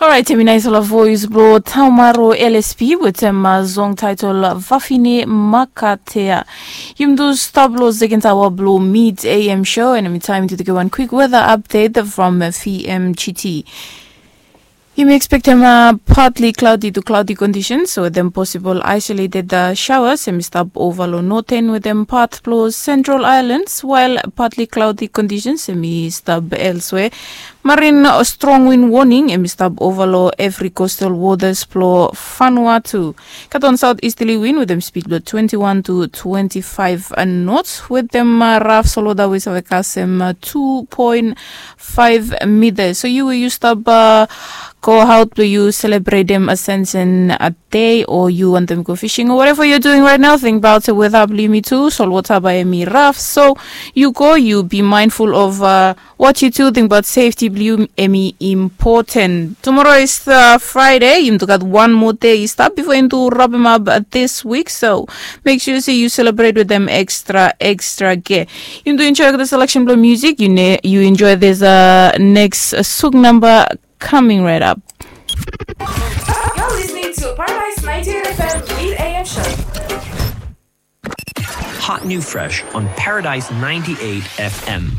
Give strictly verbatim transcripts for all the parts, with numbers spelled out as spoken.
Orait, hemi nais ol voes blong Taumaro L S P wetem song taetol Vafine Makatea. Yumi tu stap long seken aoa blong Mid A M show, and hemi taem tu tekem wan kwik weda apdet from V M G T. Yumi ekspektem partly cloudy to cloudy conditions wetem posibol isolated showers hemi stap ova long noten wetem pat blong Central Islands, while partly cloudy conditions hemi stap elsewhere. Marin strong wind warning hemi stap ova long evri coastal waters blong Vanuatu. Gat wan south easterly wind wetem speed blong twenty-one to twenty-five knots wetem raf solwota we save kasem two point five meters. So yu we yu stap go out blong yu selebretem Ascension Day, o yu wantem go fishing, o whatever you're doing right now, think about the weather blong yumi tu. Solwota bae hemi raf, so yu go, yu be mindful of what yu do, think about safety blong yu, hemi important. Tomorrow is Friday, yumi tu gat wan moa dei i stap bifo yumi tu rapem ap this week, so make sure se yu selebret wetem extra extra gear. Yumi tu enjoy olgeta selection blong music. Yu enjoy this next suk namba coming right up. You're listening to Paradise ninety-eight F M Mid A M Show. Hot new fresh on Paradise ninety-eight F M.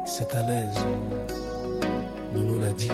C'est à l'aise. Nounou l'a dit.